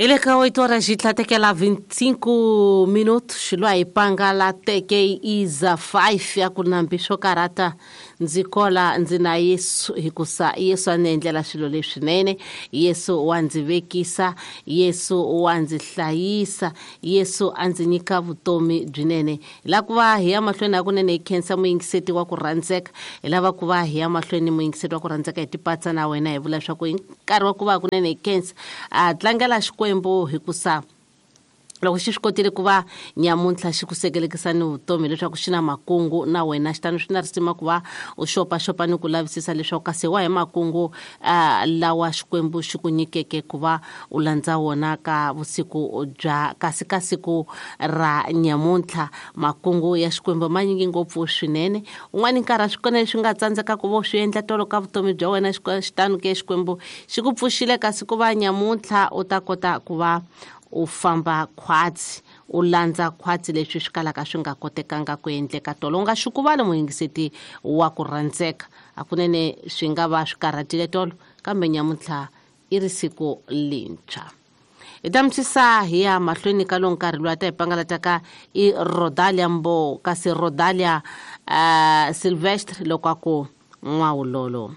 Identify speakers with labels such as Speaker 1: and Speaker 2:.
Speaker 1: Hi le ka 8 horas yi tlhatekela 25 minutos lwa hi pangala teke iza 5 ya ku nambi swo karhata ndzi kola ndzi na Yesu hikusa Yesu a ni endlela swilo leswinene. Yesu wa ndzi vekisa, Yesu wa ndzi hlayisa, Yesu a ndzi nyika vutomi byinene. Hi lava ku va hi ya mahlweni hakunene hi khensa muyingiseti wa ku rhandzeka. Hi lava ku va hi ya mahlweni muyingiseti wa ku rhandzeka hi tipatsa na wena hi vula leswaku hi nkarhi wa ku va hakunene hi khensa a tlangela Xikwembu hikusa loko xi swi kotile ku va nyamuntlha xi ku sekelekisa ni vutomi leswaku xi na makungu na wena, xitano swi na risima ku va u xopaxopa ni ku lavisisa leswaku kasi wa hi makungu lawa Xikwembu xi ku nyikeke ku va u landza wona ka vusiku bya kasi ka siku ra nyamuntlha. Makungu ya Xikwembu ma nyingi ngopfu swinene. Un'wana nkarhi a swi kona leswi nga tsandzeka ku va u swi endla tolo ka vutomi bya wena, xitano ke Xikwembu xi ku pfuxile kasi ku va nyamuntlha u ta kota ku va u famba khwatsi, u landza khwatsi leswi swi kalaka swi nga kotekanga ku endleka tolo. U nga xukuvali muyingiseti wa ku rhandzeka, hakunene swi nga va swi karhatile tolo, kambe nyamuntlha i ri siku lintshwa. Hi ta misisa hi ya mahlweni ka lowu nkarhi lowu a ta hi pangalataka i Rodalia Mbo, kasi Rodalia Silvestre loko a ku n'wawulolo.